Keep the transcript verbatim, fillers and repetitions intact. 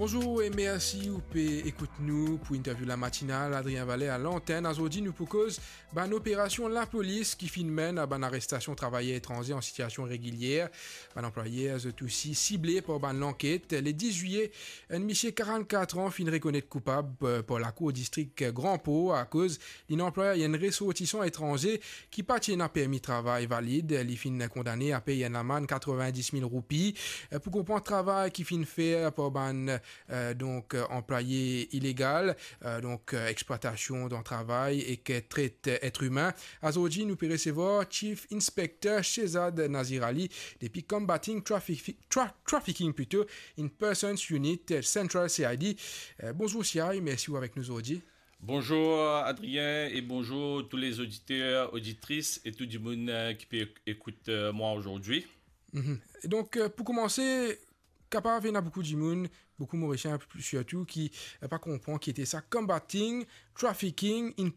Bonzour e mersi ou pe ekout nou pou interview la matinal, Adrien Valet a lantenn. Azordi nou pou koz bann operasion lapolis ki finn menn a bann arestasion travayer etranze an sitiasion regilyer. Bann anplwayer zot osi sible par bann lanket. Le dis zwiye, enn misie karannkat an finn rekonet koupab, eh, par lakour distrik Gran Por akoz linn anplway enn resortisan etranze ki pa ti ena permi travay valid. Li finn kondane a pey enn lamann katrevin-dis mil roupi, eh, pou konpran travay ki finn fer par bann, eh, donk, eh, anplwaye ilegal, eh, donk, eh, explwatasion dan travay ek tret et imin. Azordi nou pe resevwar Chief Inspector Shehzad Nazir Ali depi Combating Traffic-, Tra-, Trafficking plito in Persons Unit, eh, Central C I D. Eh, bonzour Shehzad, mersi ou avek nou zordi. Bonzour Adrien e bonzour tou lezoditer, oditris e tou dimoun, eh, ki pe ek-, ekout, eh, mwa azordi. Mhm. Donk, eh, pou koumanse, kapav ena boukou dimoun, boukou Morisien sirtou ki, eh, pa konpran ki ete sa Combating Trafficking in